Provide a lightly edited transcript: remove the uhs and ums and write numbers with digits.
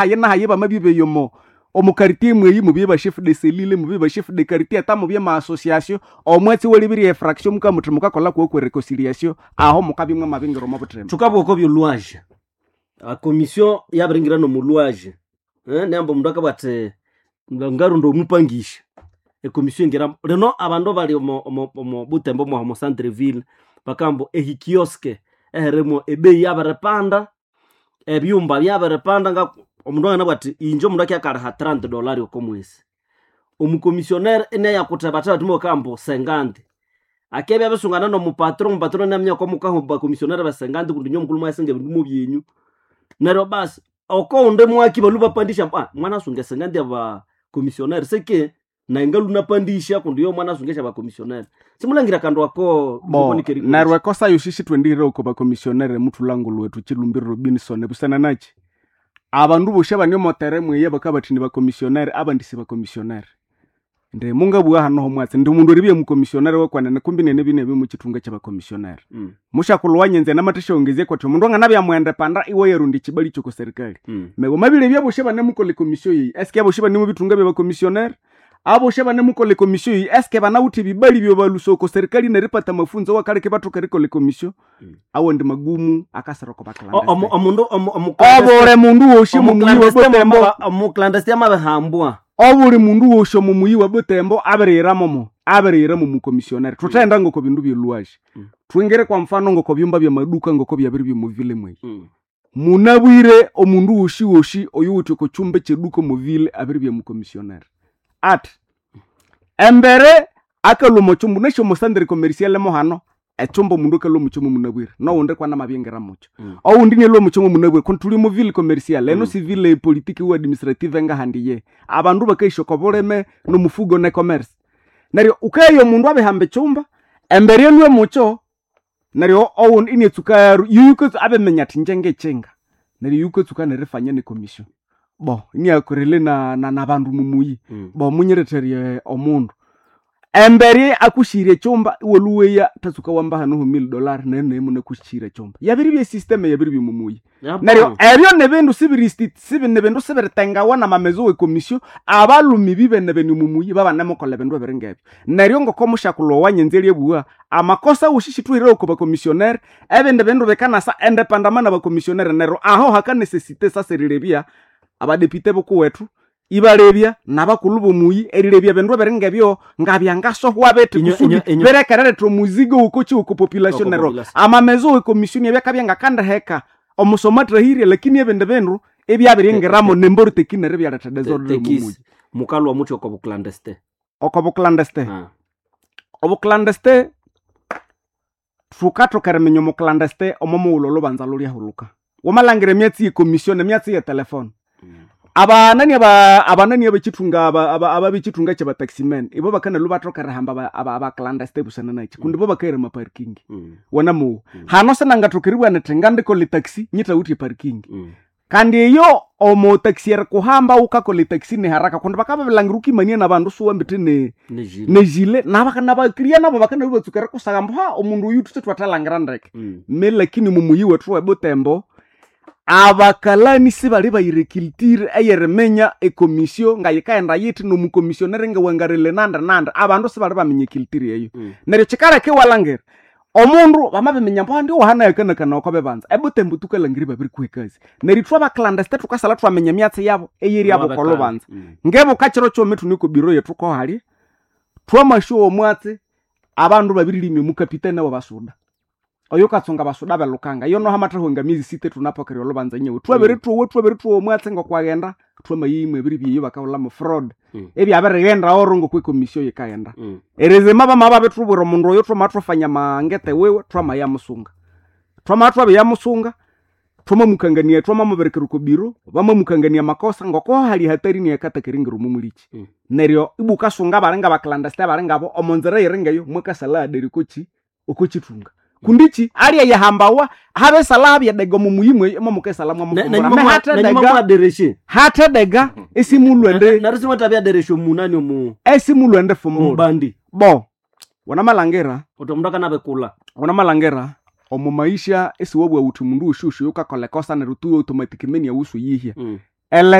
Haye na haye bamabye omo omu quartier mweyi mubye ba chef de cellule, mubye ba chef de quartier, ata mubye ma association, omwatsi welibirye efraction mukamuthi mukakola kwokwe reconciliation, aho mukabya mwamabingira omo buthema. Thukabugha oko byolwaje, a commission yabiringira nomulwaje, nehamba omundu akabugha athi ngarunda omupangisya, e commission ingira. Lino abandu abali omo Butembo mwaha omo centre ville bakabugha ambu ehikioske ehirimu ebeyi yabiripanda, ebyumba byabiripanda, nga omundu anganabugha athi inje omundu akyakaliha $30 oko mwesi. Omukomissionnaire inayakuthebatheba athi mubakabugha ambu 50. Akibya abisungana nomupatron, omupatron inaminya ngoko bakomissionnaire be 50 kundi inywe mukulhu mwayasenga ebindu mubyenyu. Neryo basi okowundi mwaki balhwe bapandisya ambu mwanasunga e 50 yabakomissionnaire seki nayi ngalhwe inapandisya kundi iyo mwanasunga esyabakomissionnaire. Simulangira akandu ako. Bo neryo ekosa yosi sithwendire oko bakomissionnaire muthulangulhu wethu Chilumbiro Robinson busana naki? Abandu bosi abane omo terrain mweyi bakabathi ni bakomissionnaire, abandi si bakomissionnaire. Indi mungabugha hano homwatsi indi omundu eribya mukomissionnaire wekwenene kumbi nenebi nebi mukyithunga kyabakomissionnaire. Mushakulhu wanyenze namathasyaghongezya kwathi omundu anganabya mwendepanda iwayarondya ekyibali kyoko serikali. Neryo wamabirebya abosi abanemukolha ekomissio eyi, eske abosi bane mubithunga byabakomissionnaire? Abosi abanemukolha ekomissio eyi eske banawithe ebibali byabalhusa oko serikali neripata amafunzo awakaleka ibathoka erikolha ekomissio? Awandi magumu akasira oko baclandestine. Omundu Obuli mundu wosi omo muyi wa Butembo, omuclandestine amabihambwa. Obuli mundu wosi omo muyi wa Butembo abirihiramomo, abirihiramo mukomissionnaire. Thuthenda ngoko bindu byelhuwaje. Thwingire kwa mfano ngoko byumba byamaduka ngoko byabiri byomuvile mweyi. Munabwire omundu wosi wosi oyuwithe oko kyumba ekyeduka omuvile abiribya mukomissionnaire. Athi embere akalhwa omo kyumba wunasi omo centre commercial mo hano, ekyumba omundu akalhwa omo kyuma munabwire nowundi kwanamabingira mukyo. Owundi inalhwa omo kyuma munabwire kundi thuli omo ville commercial, eno si ville politique ou administrative ngahandi iye. Abandu bakayisya oko bulime nomufugo ne commerce. Neryo wukagha omundu abihamba ekyumba, embere alhwe mukyo, neryo owundi iniatsuka abiminya athi ingye ngikyinga. Neryo yukatsuka nerifanya ne commission. Bo iniakorele nabandu mumuyi, bo munyirethera omundu. Embere akushira ekyumba iwalhuweya thatsuka wamba hano ho $1000 neryo nayi munakushira ekyumba. Yabiribya esystem eyabiribya omumuyi. Neryo ebyo nibindu nibindu sibiritengawa namamezo we commission, abalhumi bibene bene omumuyi babanemukolha ebindu ebiringebyo. Neryo ngoko mushakulhu owanyenze eryabugha, amakosa wosi sithuhire oko bakomissionnaire, ebindi bindu bikanasa endependamment nabakomissionnaire neryo aho hakanesesite sasa erilebya abadepite bukuwethu ibalebya nabakulhu bomuyi erilebya ebindu ebiringebyo ngabyangasohwa bithi kusudi birekereretha omuzigo wokoki woko population. Oko Neryo population. amamezo we commission ebyakabya ngakandiheka omusomo athahirye, lakini ebindi bindu ebyabiringiramo nemboroteki neryo ebyaletha desordre omumuyi. Tekisi mukalhwa muthi oko buclandestine? Oko buclandestine, obuclandestine thukathoka eriminya omuclandestine omo mughulhu olhubanza lulyahulhuka. Wamalhangira emyatsi ye commission, emyatsi ye telefone, abanani abanani abekyithunga ababekyithunga kyabataximen ibo bakanalwa bathoka erihamba abaclandestine busana nakyi kundi bo bakahira ama parking. Wanamuwa hano sinangathoka eribugha nithi ngandikolha etaxi nyithawithe eparking. Kandi eyo omo taxi erikuhamba wukakolha etaxi niharaka kundi bakababilangira wukimania nabandu siwambithe ne nejile nabakiriya nabo bakanalwa batsuka erikusagha ambu ha omundu oyu thuthe thwathalangira ndeke. Me lakini mumuyi wethu webutembo abakalani sibali bayira eculture eyeriminya ekomissio ngayikaghenda yithi nomukomissionnaire ngawangarile nandi nandi, abandu sibali baminya eculture eyo. Neryo kyikaleka iwalhangira omundu bamabiminya ambu andi wahana yakanakana oko bibanza ebutembo thukalhangira ibabirikuha ekasi. Neryo ithwe abaclandestine thukasalha thwaminya emyatsi yabo eyeryabo oko lubanza. Ngebuka kiro kyuma ithune oko biro yethu kohalya, thwamasyowa omwatsi abandu babirilimya omukapitene wabasuda. Oyo katsunga abasuda belukanga iyo noho amathahwa miezi sita ithunapokera olhubanza nyewe. Thwabirithwowa thwabirithwowa omwatsi ngokwaghenda thwamayima ebiribya eyo bakahulhamu fraud. Ebyabirighenda oro ngokwe ekomissio yikaghenda. Erizima bamabya babirithubwira omundu oyo thwamathwafanya amangete wiwe thwamayamusunga. Thwamabya thwabiyamusunga, thwamamukangania thwamamubirikira oko biro, bamamukangania amakosa ngoko hali hatarini eyakathaka eringira omo mulikyi. Neryo ibwa wukasunga abalinga abaclandestine abalingabo omo nzira eyiringeyo mwakasalha adere okokyi okokyithunga. Kundi kyi alyayihambawa habisalha habyadega omo muyi mweyo imwamukasalha mwamufumbura. Me nenyuma hathedega mwadereshe hathedega esimulhwende neryo simwathabyaderesha omunani omu esimulhwende fumbula. omubandi Bo wanamalhangira uthi omundu akanabikula. Wanamalhangira omo maisha esiwabugha wuthi omundu wosyowosi oyukakolha ekosa neryo tu automatically awusu yihya. Ele